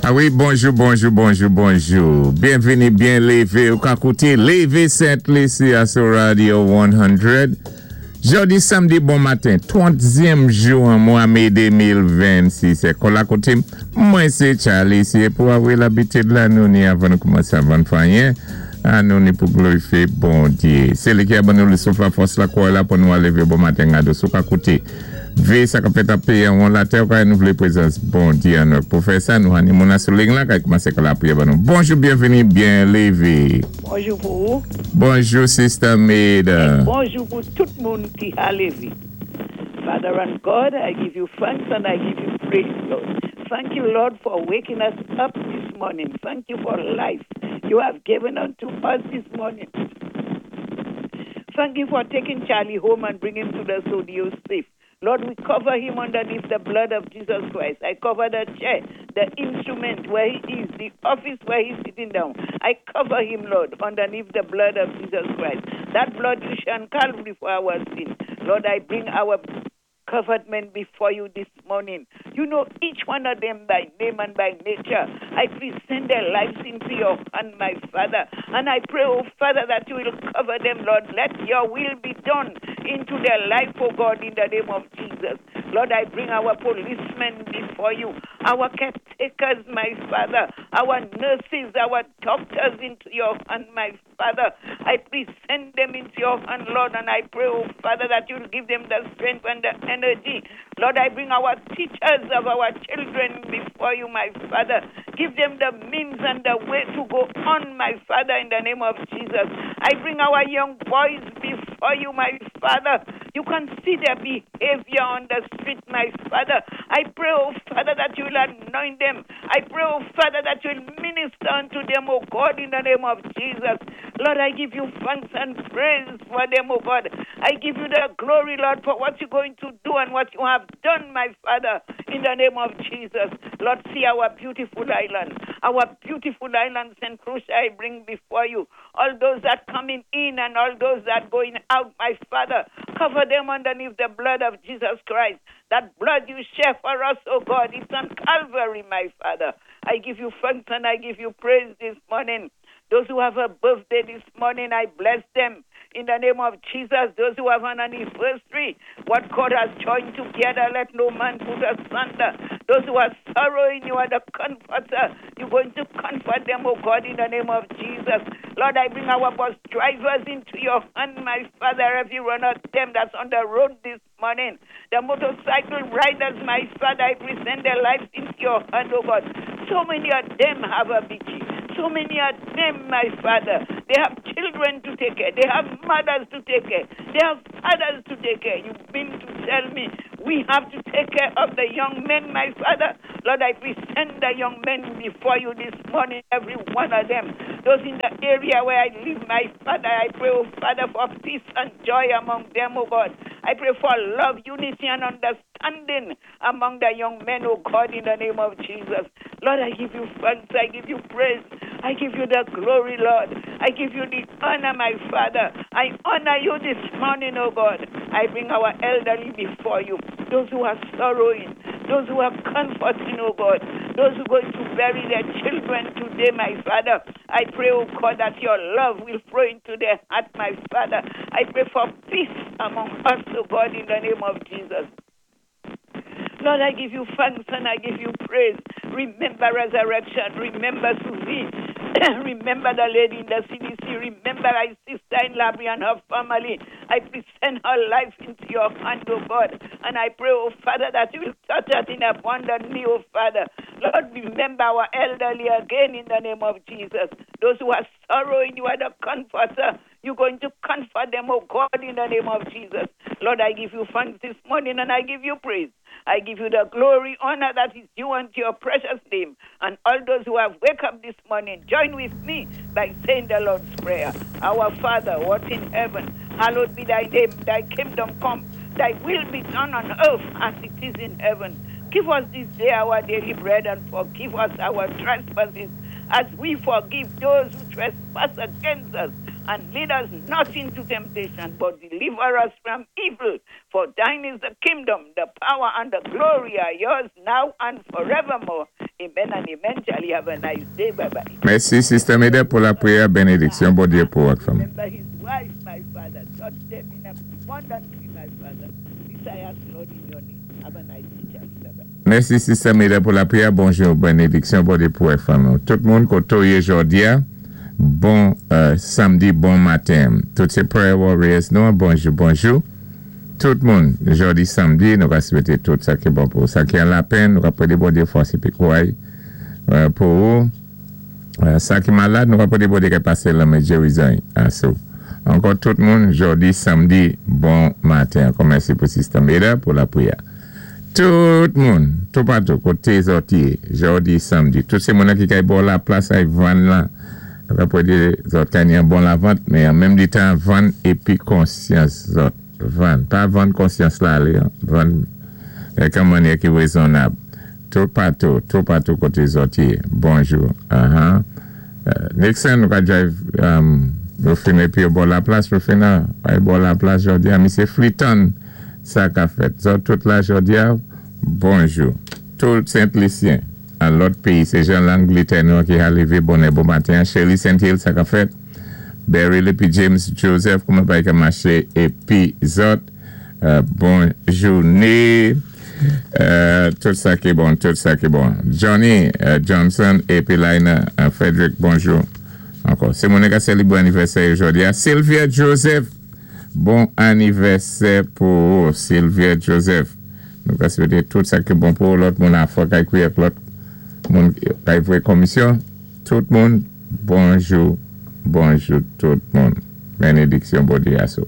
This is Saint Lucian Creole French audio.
A wi, bonjou, bonjou, bonjou, bonjou. Byenvini, byen lévé. Ou ka kouté Lévé Sent Lisi a sou Radio 100. Jòdi samdi bon maten, 30èm jou an mwa mé 2026. É kòla koté, mwen sé Charlie, sé pou avril labitid la nou ni avan nou koumansé avan fè anyen, an nou ni pou glorifié Bondyé. Sé li ki a ban nou le souf la fòs la kouray la pou nou a lévé bon maten gado sou ka kouté. Vé sa ka fèt ap péyi an won latè ou ka nou vlé prezans Bondyé an nou. Pou fè sa, nou an ni moun sou liy la, kay koumansé ka lapriyè ban nou. Bonjou, byenvini, byen lévé. Bonjou pou ou. Bonjou, Sister Maida. É bonjou pou tout moun ki a lévé. Father and God, I give you thanks and I give you praise, Lord. Thank you, Lord, for waking us up this morning. Thank you for life you have given unto us this morning. Thank you for taking Charlie home and bringing him to the studio safe. Lord, we cover him underneath the blood of Jesus Christ. I cover the chair, the instrument where he is, the office where he's sitting down. I cover him, Lord, underneath the blood of Jesus Christ. That blood you shed on Calvary for our sin. Lord, I bring our government before you this morning. You know each one of them by name and by nature. I present their lives into your hand, my Father. And I pray, oh Father, that you will cover them, Lord. Let your will be done into their life, oh God, in the name of Jesus. Lord, I bring our policemen before you, our caretakers, my Father, our nurses, our doctors into your hand, my Father. I present them into your hand, Lord, and I pray, oh Father, that you'll give them the strength and the energy. Lord, I bring our teachers of our children before you, my Father. Give them the means and the way to go on, my Father, in the name of Jesus. I bring our young boys before you, my Father. You can see their behavior on the street, my Father. I pray, oh Father, that you will anoint them. I pray, oh Father, that you will minister unto them, oh God, in the name of Jesus. Lord, I give you thanks and praise for them, oh God. I give you the glory, Lord, for what you're going to do and what you have done, my Father, in the name of Jesus. Lord, see our beautiful island. Our beautiful island, St. Lucia, I bring before you. All those that coming in and all those that going out, my Father, cover them underneath the blood of Jesus Christ. That blood you shed for us, oh God, it's on Calvary, my Father. I give you thanks and I give you praise this morning. Those who have a birthday this morning, I bless them. In the name of Jesus, those who have an anniversary, what God has joined together, let no man put asunder. Those who are sorrowing, you are the comforter. You're going to comfort them, oh God, in the name of Jesus. Lord, I bring our bus drivers into your hand, my Father, every one of them that's on the road this morning. The motorcycle riders, my Father, I present their lives into your hand, oh God. So many of them have a BG. So many of them, my Father, they have children to take care. They have mothers to take care. They have fathers to take care. You've been to tell me we have to take care of the young men, my Father. Lord, I present the young men before you this morning, every one of them. Those in the area where I live, my Father, I pray, oh Father, for peace and joy among them, oh God. I pray for love, unity, and understanding among the young men, oh God, in the name of Jesus. Lord, I give you thanks. I give you praise. I give you the glory, Lord. I give you the honor, my Father. I honor you this morning, oh God. I bring our elderly before you, those who are sorrowing, those who are comforting, oh God, those who are going to bury their children today, my Father. I pray, oh God, that your love will flow into their heart, my Father. I pray for peace among us, oh God, in the name of Jesus. Lord, I give you thanks and I give you praise. Remember resurrection. Remember Susie. Remember the lady in the CDC. Remember my sister in Labrie and her family. I present her life into your hand, oh God. And I pray, oh Father, that you will touch her in abundantly, oh Father. Lord, remember our elderly again in the name of Jesus. Those who are sorrowing, you are the comforter. You're going to comfort them, oh God, in the name of Jesus. Lord, I give you thanks this morning and I give you praise. I give you the glory, honor that is due unto your precious name. And all those who have wake up this morning, join with me by saying the Lord's Prayer. Our Father, who art in heaven, hallowed be thy name, thy kingdom come, thy will be done on earth as it is in heaven. Give us this day our daily bread and forgive us our trespasses as we forgive those who trespass against us. And lead us not into temptation, but deliver us from evil. For thine is the kingdom, the power, and the glory are yours now and forevermore. Amen and amen. Charlie, have a nice day. Bye bye. Mèsi, Sister Meda, pou lapwiyè. Bénédiksyon, Bondyé pou ak fanmi. Remember his wife, my Father. Touch them in abundantly, my Father. This I ask, Lord, in your name. Have a nice day, Charlie. Bye bye. Mèsi, Sister Meda, pou lapwiyè. Bonjou, bénédiksyon, Bondyé pou ak fanmi. Tout moun koté ou yé jòdi a, bon samdi, bon maten. Tout sé prayer warriors nou, bonjou, bonjou. Tout moun, jòdi samdi, nou ka swété tout sa ki bon pou sa ki an lapenn, nou ka pwédé Bondyé fòs épi kouray pou ou. Sa ki malad, nou ka pwédé Bondyé ka pasé lanmen gérizon asou. Ankò tout moun, jòdi samdi, bon maten. Ankò mèsi pou Sister Meda pou lapwiyè. Tout moun, toupatou, koté zòt yé, jòdi samdi, tout sé moun ki kay bò laplas ay vann lan, nou ka pwédé zòt kay ni an bon lavant, men an menm di tan vann épi konsyans zòt. Vann. Pa vann konsyans la alé, vann ak an mannyè ki wézonnab. Toupatou, toupatou koté zòt yé. Bonjou. Aha. Nixon, nou ka drive Rufino épi yo bò laplas. Rufino, ay bò laplas jòdi a. Misyé Fliton, sa ka fèt. Zòt tout la jòdi a, bonjou. Tout Sent Lisyen an lòt péyi, sé jan Langlétè nou ki ha lévé bonè bon maten. Shirley St. Hill, sa ka fèt. Beryl épi James Joseph, kouman pay ka maché épi zòt. Bon jouné. Tout sa ki bon, tout sa ki bon. Johnny Johnson épi Lina Frederick, bonjou. Ankò. Sé moun ka sélébré anivèsè jòdi a. Sylvia Joseph, bon anivèsè pou ou, Sylvia Joseph. Nou ka swété tout sa ki bon pou lòt moun afò kay kwiyè lòt moun kay vwé komisyon. Tout moun, bonjou, bonjou tout moun. Bénédiksyon Bondyé asou.